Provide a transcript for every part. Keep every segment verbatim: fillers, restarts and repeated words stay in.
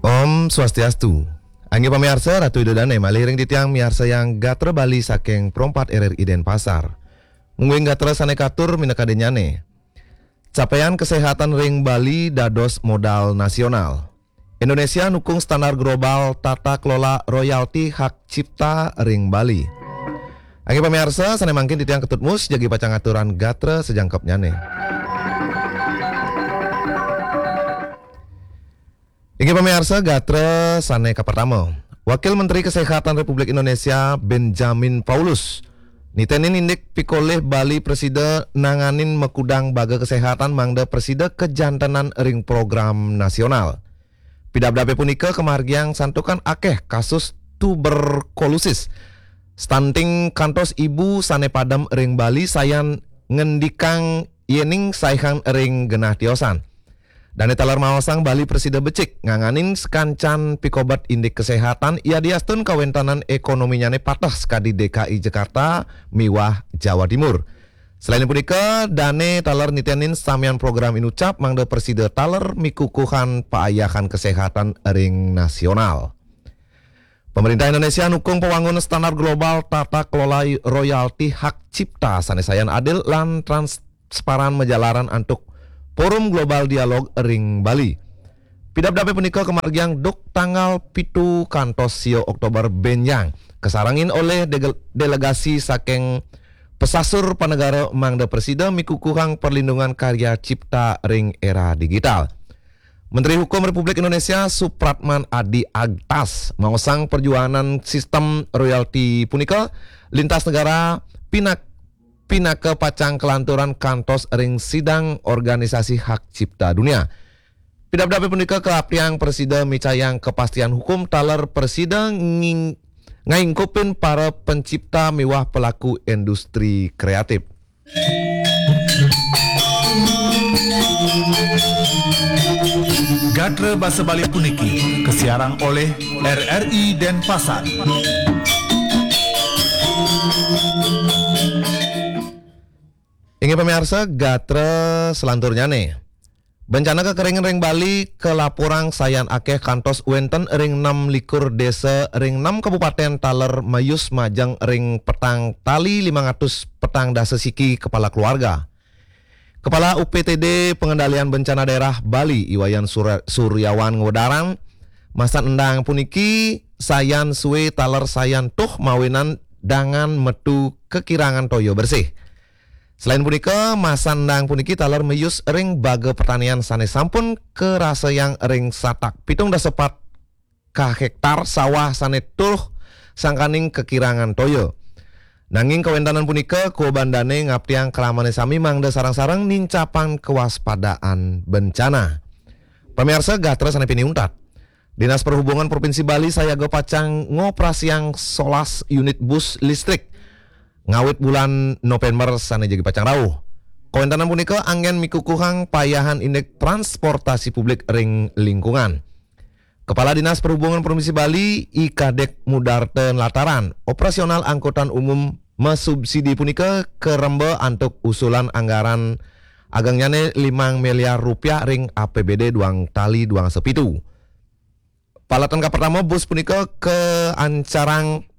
Om Swastiastu. Inggih pamiarsa, Ratu Ida Dane malih ring titiang miarsayang gatra Bali saking Pro empat R R I Denpasar. Mungguing gatra sane katur minakadi nyane. Capaian kesehatan ring Bali dados modal nasional. Indonesia nukung standar global tata kelola royalti hak cipta ring Bali. Inggih pamiarsa, sane mangkin titiang Ketut Mus jagi pacang aturang gatra sajangkepnyane. Inggih pamiarsa, gatra sane kapertama. Wakil Menteri Kesehatan Republik Indonesia Benjamin Paulus nitenin indik pikolih Bali prasida nanganin makudang baga kesehatan mangda prasida kajantenan ring program nasional. Pidabdabe punika kamargiang santukan akeh kasus tuberkulosis, stunting kantos ibu sane padem ring Bali sayan ngendikang yening saihang ring genah tiosan. Dane taler maosang Bali prasida becik nganganin sakancan pikobet indik kesehatan yadiastun kawentanan ekonominyane pateh sakadi D K I Jakarta miwah Jawa Timur. Selain punika, dane taler nitenin samian program inucap mangda prasida taler mikukuhan paayahan kesehatan ring nasional. Pemerintah Indonesia nukung pawangun standar global tata kelola royalti hak cipta sane sayan adil lan transparan majalaran antuk Forum Global Dialog ring Bali. Pidabdabe punika kamargiang duk tanggal pitu kantos sia Oktober benjang, kasarengin olih dege-, delegasi saking pesasur panegara mangda prasida mikukuhang perlindungan karya cipta ring era digital. Menteri Hukum Republik Indonesia Supratman Adi Agtas maosang perjuangan sistem royalti punika lintas negara pinak-, pinaka pacang kalanturan kantos ring sidang Organisasi Hak Cipta Dunia. Pidabdabe punika kaaptiang prasida micayang kepastian hukum taler prasida nging-, ngaingkupin para pencipta miwah pelaku industri kreatif. Gatra basa Bali puniki kasiarang olih R R I Denpasar. Inggih pamiarsa, gatra selanturnyane. Bencana kekeringan ring Bali kalaporang sayan akeh kantos wenten ring enam likur desa ring enam kabupaten taler mayus majeng ring petang tali limang atus petang dasa siki kepala keluarga. Kepala U P T D Pengendalian Bencana Daerah Bali, I Wayan Sura-, Suryawan ngwedarang, masan endang puniki sayan sue taler sayan tuh mawinan dangan metu kakirangan toya bersih. Selain punika, masan endang puniki taler mayus ring baga pertanian sane sampun karasayang ring satak pitung dasa pat ka hektar sawah sane tuh sangkaning kakirangan toya. Nanging kawentanan punika, kawabandane ngaptiang kramane sami mangda sareng-sareng nincapang kewaspadaan bencana. Pamiarsa, gatra sane pinih untat. Dinas Perhubungan Provinsi Bali sayaga pacang ngoperasiang solas unit bus listrik ngawit bulan November sane jagi pacang rauh. Kawentanan punika anggen mikukuhang payahan indik transportasi publik ring lingkungan. Kepala Dinas Perhubungan Provinsi Bali, I Kadek Mudarta nlataran, operasional angkutan umum masubsidi punika karemba antuk usulan anggaran agengnyane limang miliar rupiah ring A P B D duang tali duang sapitu. Paletan kapertama bus punika kaancarang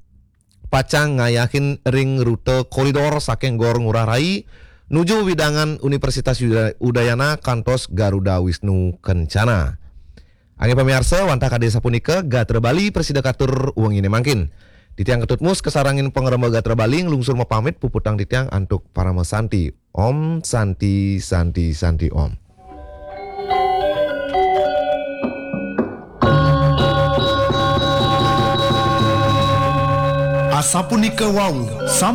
pacang ngayahin ring rute koridor saking Gor Ngurah Rai nuju wewidangan Universitas Uda-, Udayana kantos Garuda Wisnu Kencana. Inggih pamiarsa, wantah kadi sapunika gatra Bali prasida katur wengine mangkin. Titiang Ketut Mus kasarengin pangremba gatra Bali nglungsur mapamit, puputang titiang antuk parama santi. Om Santi, Santi, Santi, Om. Asapunika wau, sampun